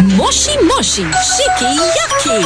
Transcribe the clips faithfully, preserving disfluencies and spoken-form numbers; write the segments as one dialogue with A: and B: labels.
A: Moshi Moshi Shiki Yaki.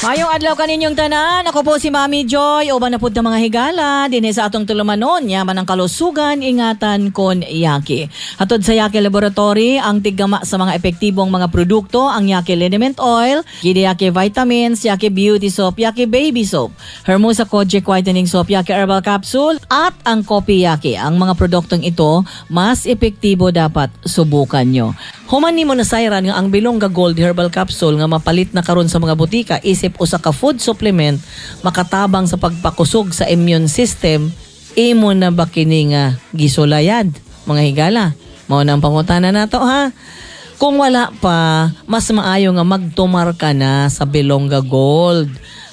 B: Maayong adlaw kaninyong tanan. Ako po si Mami Joy. Uban na pud ta, mga higala dinhi sa atong tulumanon. Yaman ang kalusugan, ingatan kon Yaki. Hatod sa Yaki Laboratory, ang tiggama sa mga epektibong mga produkto, ang Yaki Liniment Oil, Gidi Yaki Vitamins, Yaki Beauty Soap, Yaki Baby Soap, Hermosa Kojic Whitening Soap, Yaki Herbal Capsule, at ang Kopi Yaki. Ang mga produktong ito, mas epektibo, dapat subukan nyo. Human nimo nasayran nga ang Bilongga Gold Herbal Capsule nga mapalit na karon sa mga botika isip usa ka food supplement makatabang sa pagpakusog sa immune system, imo na ba kini nga gisulayan, mga higala? Mao na ang pangutana nato, ha. Kung wala pa, mas maayo nga magtumar ka na sa Bilongga Gold.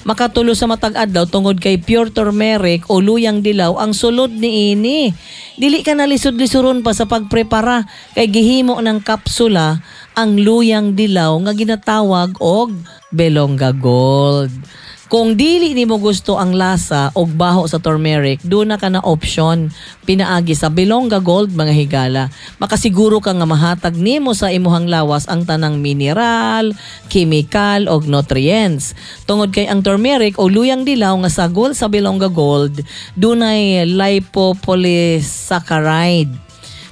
B: Makatulo sa matag adlaw tungod kay pure turmeric o luyang dilaw ang sulod niini. Dili ka na lisod-lisuron pa sa pagprepara kay gihimo ng kapsula ang luyang dilaw nga ginatawag og Bilongga Gold. Kung dili nimo gusto ang lasa og baho sa turmeric, duna ka na option pinaagi sa Bilongga Gold, mga higala. Makasiguro ka nga mahatag nimo sa imuhang lawas ang tanang mineral, chemical og nutrients. Tungod kay ang turmeric o luyang dilaw nga sagol sa Bilongga Gold, dunay lipopolysaccharide.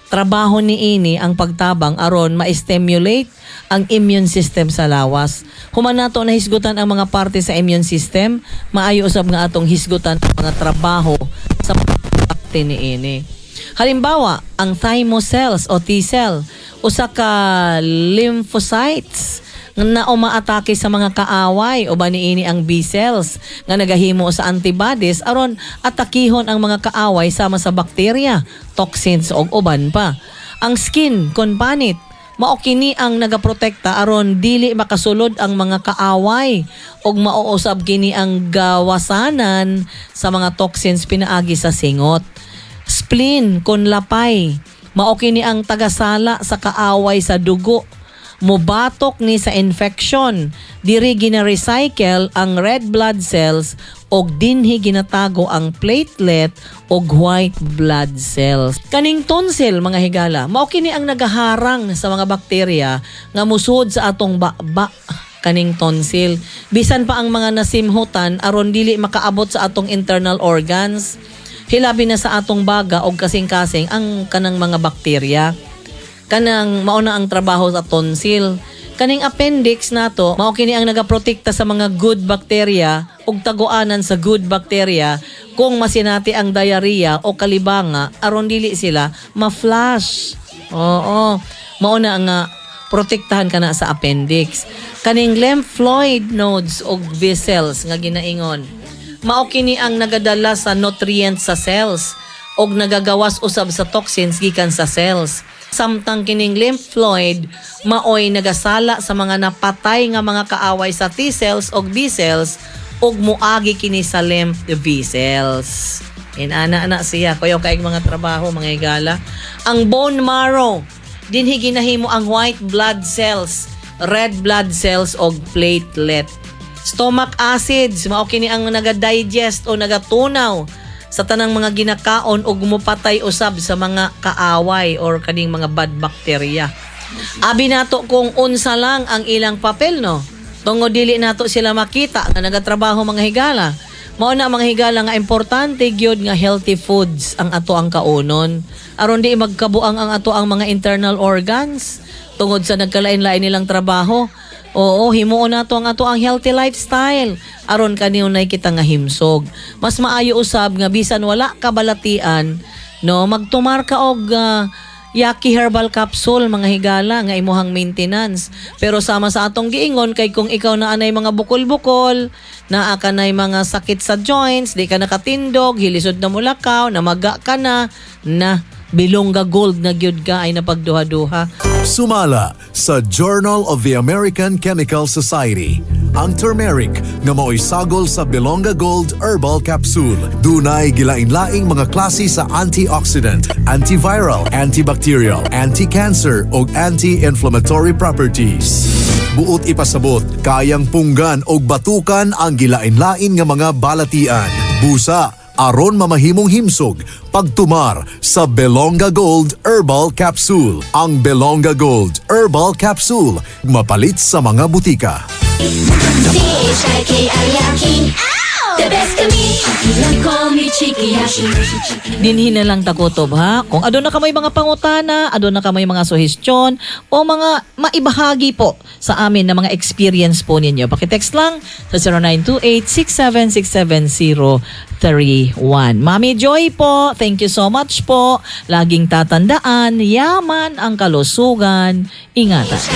B: Trabaho niini ang pagtabang aron ma-stimulate ang immune system sa lawas. Human nato na hisgutan ang mga parte sa immune system, maayo usab nga atong hisgutan ang mga trabaho sa parte niini. Halimbawa, ang thymus cells o T cell, usa ka lymphocytes na umaatake sa mga kaaway, o niini ang B cells nga nagahimo sa antibodies aron atakihon ang mga kaaway sama sa bakterya, toxins ug uban pa. Ang skin kon panit, mao kini ang nagaprotekta aron dili makasulod ang mga kaaway ug mao usab kini ang gawasanan sa mga toxins pinaagi sa singot. Spleen kon lapay, mao kini ang tagasala sa kaaway sa dugo, mubatok ni sa infection. Diri gina-recycle ang red blood cells og dinhi ginatago ang platelet og white blood cells. Kaning tonsil, mga higala, mao kini ang nagaharang sa mga bakterya nga musud sa atong baba. Kaning tonsil, bisan pa ang mga nasimhutan, aron dili makaabot sa atong internal organs, hilabi na sa atong baga og kasing-kasing ang kanang mga bakterya. Kanang mao na ang trabaho sa tonsil. Kaning appendix nato, mao kini ang nagaprotekta sa mga good bacteria ug taguanan sa good bacteria kung masinati ang diarrhea o kalibanga aron dili sila ma-flush. Oo. Mao na nga protektahan ka na sa appendix. Kaning lymphoid nodes og vessels nga ginaingon, mao kini ang nagadala sa nutrients sa cells og nagagawas usab sa toxins gikan sa cells. Samtang kining lymphoid maoy nagasala sa mga napatay nga mga kaaway sa T cells og B cells ug muagi kini sa lymph vessels. Inana na siya kuyaw kay mga trabaho, mga higala. Ang bone marrow, dinhi ginahimo ang white blood cells, red blood cells og platelet. Stomach acids, mao kini ang naga-digest o nagatunaw sa tanang mga ginakaon ug mupatay usab sa mga kaaway or kaning mga bad bacteria. Abi nato kung unsa lang ang ilang papel, no? Tungod dili nato sila makita nga nagatrabaho, mga higala. Mao na, mga higala, nga importante gyud nga healthy foods ang ato ang kaunon aron di magkabuang ang ato ang mga internal organs tungod sa nagkalain-lain nilang trabaho. Oo, himuon nato ang ato ang healthy lifestyle aron kanunay kita nga himsog. Mas maayo usab nga bisan wala ka balatian, no, magtumar ka og ah, Yaki Herbal Capsule, mga higala, nga imuhang maintenance. Pero sama sa atong giingon, kay kung ikaw na anay mga bukol-bukol, naa ka nay mga sakit sa joints, di ka nakatindog, hilisod na mulakaw, namaga ka na, na Bilongga Gold na gyud ka ay napagduha-duha.
C: Sumala sa Journal of the American Chemical Society, ang turmeric nga mao'y sagol sa Bilonga Gold Herbal Capsule, dunay gilain-laing mga klase sa antioxidant, antiviral, antibacterial, anti-cancer ug anti-inflammatory properties. Buot ipasabot, kayang punggan og batukan ang gilain-lain nga mga balatian, busa, Aron mamahimong himsog pagtumar sa Belonga Gold Herbal Capsule. Ang Belonga Gold Herbal Capsule mapalit sa mga butika.
A: C H I K I Y A K I. The best kami. Call me Chikiyashi.
B: Dinhi na lang ta kutob, ha. Kung aduna kamoy mga pangutana, aduna kamoy mga suhestyon o mga maibahagi po sa amin na mga experience po ninyo, paki-text lang sa zero nine two eight, six seven six seven zero three one. Mami Joy po, thank you so much po. Laging tatandaan, yaman ang kalusugan. Ingatan.